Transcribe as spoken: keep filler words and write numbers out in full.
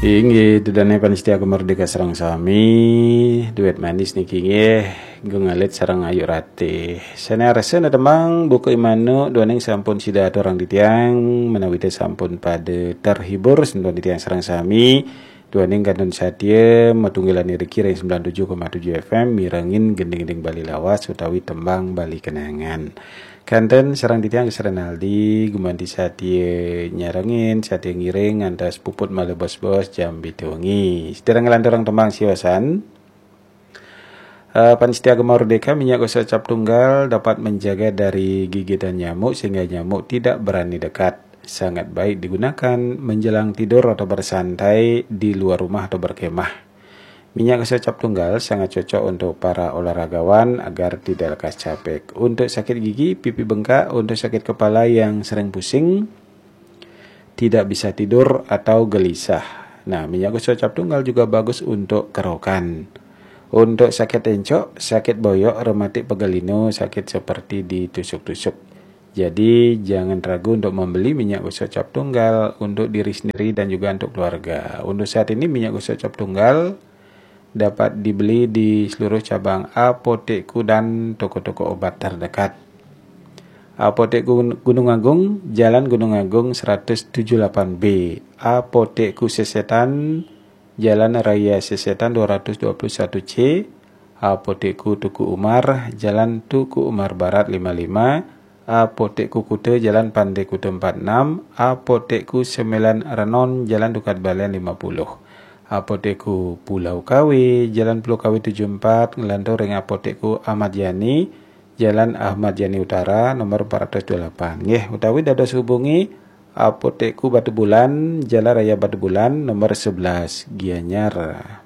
Inggih, ida dané pamiarsa Gema Merdeka sareng sami, duet manis niki inggih, Gung Alit sareng Ayu Ratih. Sané arsa na tembang buka imanu duaning sampun sida aturang titiang, menawi té sampun pada terhibur semeton titiang sareng sami, duaning kantun satia matunggilan iriki ring sembilan tujuh koma tujuh F M mirengin gending-gending Bali lawas utawi tembang Bali kenangan. Kantun sareng titiang Gus Renaldi, gumanti satia nyarengin, satia ngiring, ngantos puput malih bos-bos jam pitu wengi. Sida nglanturang tembang siosan. Eh, pamiarsa Gema Merdeka, minyak gosok cap tunggal dapat menjaga dari gigitan nyamuk sehingga nyamuk tidak berani dekat. Sangat baik digunakan menjelang tidur atau bersantai di luar rumah atau berkemah. Minyak gosok cap tunggal sangat cocok untuk para olahragawan agar tidak lekas capek. Untuk sakit gigi, pipi bengkak, untuk sakit kepala yang sering pusing, tidak bisa tidur atau gelisah. Nah, minyak gosok cap tunggal juga bagus untuk kerokan. Untuk sakit encok, sakit boyok, rematik pegal linu, sakit seperti ditusuk-tusuk. Jadi, jangan ragu untuk membeli minyak gosok cap tunggal untuk diri sendiri dan juga untuk keluarga. Untuk saat ini, minyak gosok cap tunggal dapat dibeli di seluruh cabang Apotekku dan toko-toko obat terdekat. Apotek Gun-, Gunung Agung, Jalan Gunung Agung seratus tujuh delapan B. Apotekku Sesetan, Jalan Raya Sesetan dua ratus dua puluh satu C. Apotekku Teuku Umar, Jalan Teuku Umar Barat lima lima. Apotekku Kuta, Jalan Pantai Kuta empat enam. Apotekku Sembilan Renon, Jalan Dukat Balian lima puluh. Apotekku Pulau Kawe, Jalan Pulau Kawe tujuh empat, nglantur ring Apotekku Ahmad Yani, Jalan Ahmad Yani Utara, nomor empat ratus dua puluh delapan. Nggih, utawi dados hubungi Apotekku Batubulan, Jalan Raya Batubulan, nomor sebelas, Gianyar.